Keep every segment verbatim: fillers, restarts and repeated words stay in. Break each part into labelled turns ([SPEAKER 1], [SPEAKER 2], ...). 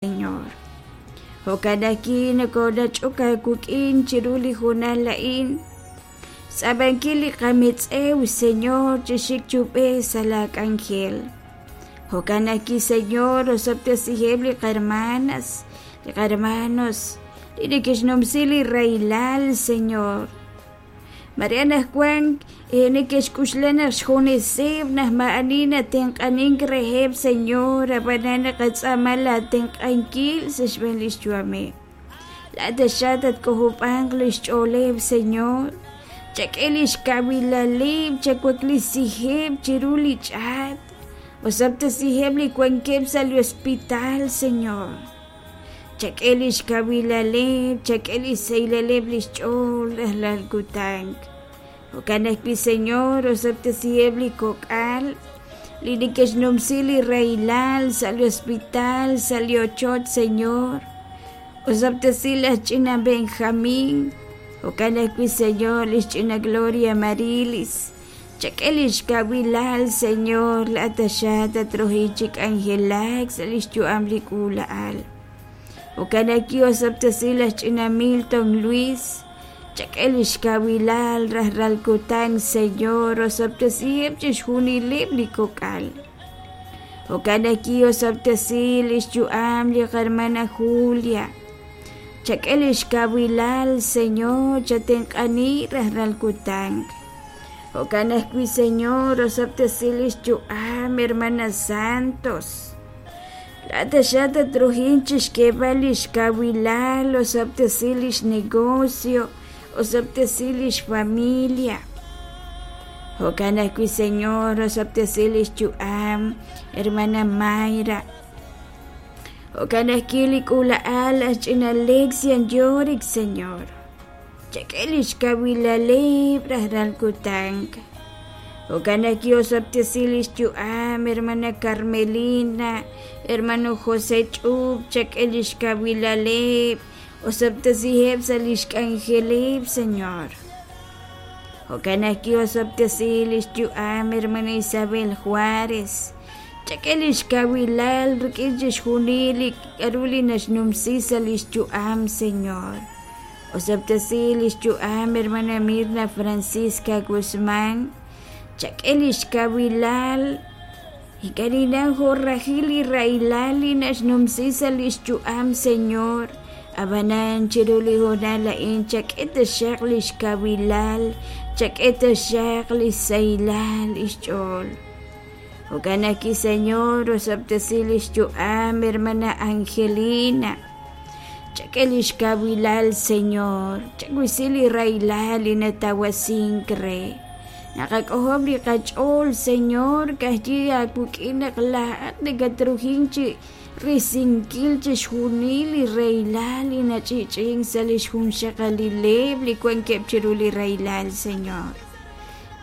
[SPEAKER 1] Señor. Jo'kan ajwi' nokoonach'ok aawik'in chiru li hoonal a'in, xtz'aab'ankil li qametz'ew, Señor, chi xik chi ub'ej sa' laak'anjel. Jo'kan ajwi', Señor, osob'tesiheb' li qahermanas, li qahermanos, li neke'xnumsi li rahilal, Señor. Mare anaqwan neke'xk'uxla naq xjuneseb' naq maa'ani natenq'anink reheb', Señor, ab'anan naqatz'aama laatenq'ankil sa' xb'een li xyu'ameb'. Laa'at taxaq tatk'ojob'anq li xch'ooleb', Señor. Chak'e li xkawilaleb', chawaklisiheb' chiru li ch'aat. Osob'tesiheb' li wankeb' sa' li hospital, Señor. Chak'e li xkawilaleb', chak'e li xsahilaleb' li xch'ool rajlal kutan. Jo'kan ajwi', Señor, osob'tesiheb' li kok'al li neke'xnumsi li rahilal sa' li hospital, sa' li ochoch, Señor. Osob'tesi laj ch'ina Benjamín. Jo'kan ajwi', Señor, li xch'ina Gloria Marilis. Chak'e li xkawilal, Señor, laa'at taxaq tatruhi chi k'anjelak sa' li xyu'am li k'uula'al. Jo'kan ajwi' osob'tesi laj ch'ina Milton Luis. Chak'e li xkawilal rajlal kutan, Señor, osob'tesiheb' chixjunileb' li kok'al. Jo'kan ajwi' osob'tesi li xyu'am li qahermana Julia. Chak'e li xkawilal, Señor, chatenq'ani rajlal kutan. Jo'kan ajwi', Señor, osob'tesi li xyu'am hermana Santos. Laa'at taxaq tatruhin chi xk'eeb'al li xkawilal, osob'tesi li xnegocio, osob'tesi li xfamilia. Jo'kan ajwi', Señor, osob'tesi li xyu'am hermana Mayra. Jo'kan ajwi' li k'uula'al laj ch'ina Lexian Yorick, Señor. Chak'e li xkawilaleb' rajlal kutan. Jo'kan ajwi' osob'tesi li xyu'am hermana Carmelina, hermano José Ch'ub, chak'e li xkawilaleb', osob'tesiheb' sa' li xk'anjeleb', Señor. Jo'kan ajwi' osob'tesi li xyu'am hermana Isabel Juárez. Chak'e li xkawilal rik'in chixjunil li k'aru li naxnumsi sa' li xyu'am, Señor. Osob'tesi li xyu'am hermana Mirna Francisca Guzmán. Chak'e li xkawilal ink'a' jo' rajil li rahilal li naxnumsi sa' li xyu'am, Señor. Ab'anan chiru li hoonal a'in chak'e taxaq li xkawilal, chak'e taxaq li xsahilal li xch'ool. Jo'kan ajwi', Señor, osob'tesi li xyu'am hermana Angelina. Chak'e li xkawilal, Señor, chawisi li rahilal li natawasink re. Naqak'ojob' li qach'ool, Señor, ka'ajwi' aawik'in naq laa'at nakatruhin chi risinkil chixjunil li rahilal li nach'i'ch'i'ink sa' li xjunxaqalileb' li wankeb' chiru li rahilal, Señor.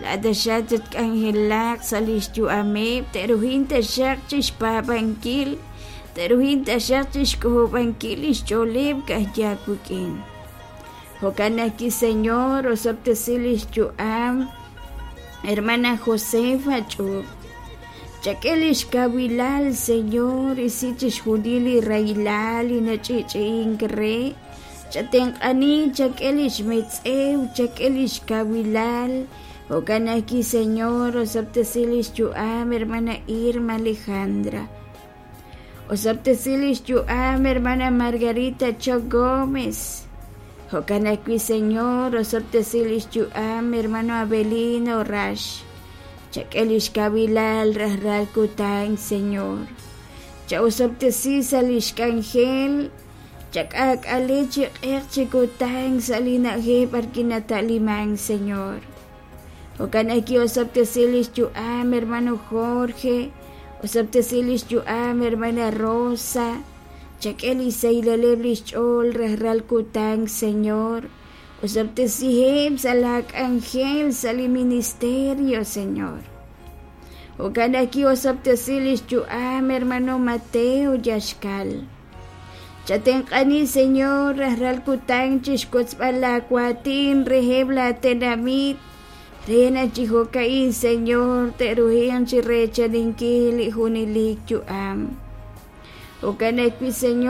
[SPEAKER 1] Laa'at taxaq tatk'anjelaq sa' li xyu'ameb', te'ruhin taxaq chixpaab'ankil, te'ruhin taxaq chixk'ojob'ankil li xch'ooleb' ka'ajwi' aawik'in. Jo'kan ajwi', Señor, osob'tesi li xyu'am hermana Josefa Ch'ub. Chak'e li xkawilal, Señor, isi chixjunil li rahilal li nach'i'ch'i'ink re. Chatenq'ani, chak'e li xmetz'ew, chak'e li xkawilal. Jo'kan ajwi', Señor, osob'tesi li xyu'am hermana Irma Alejandra. Osob'tesi li xyu'am hermana Margarita Choc Gómez. Jo'kan ajwi', Señor, osob'tesi li xyu'am hermano Abelino Rax. Chak'e li xkawilal rajlal kutan, Señor. Cha'osob'tesi sa' li xk'anjel, chak'aak'ale chi q'eq chi kutan sa' li na'ajej b'arwi' nata'liman, Señor. Jo'kan ajwi' osob'tesi li xyu'am hermano Jorge, osob'tesi li xyu'am hermana Rosa. Chak'e li xsahilaleb' li xch'ool rajlal kutan, Señor. Osob'tesiheb' sa' laak'anjel sa' li ministerio, Señor. Jo'kan ajwi' osob'tesi li xyu'am hermano Mateo Yaxkal. Chatenq'ani, Señor, rajlal kutan chixwotzb'al laawaatin reheb' laatenamit. Re naq chi jo'ka'in, Señor, te'ruhinq chi reechaninkil li junelik yu'am. Jo'kan ajwi', Señor.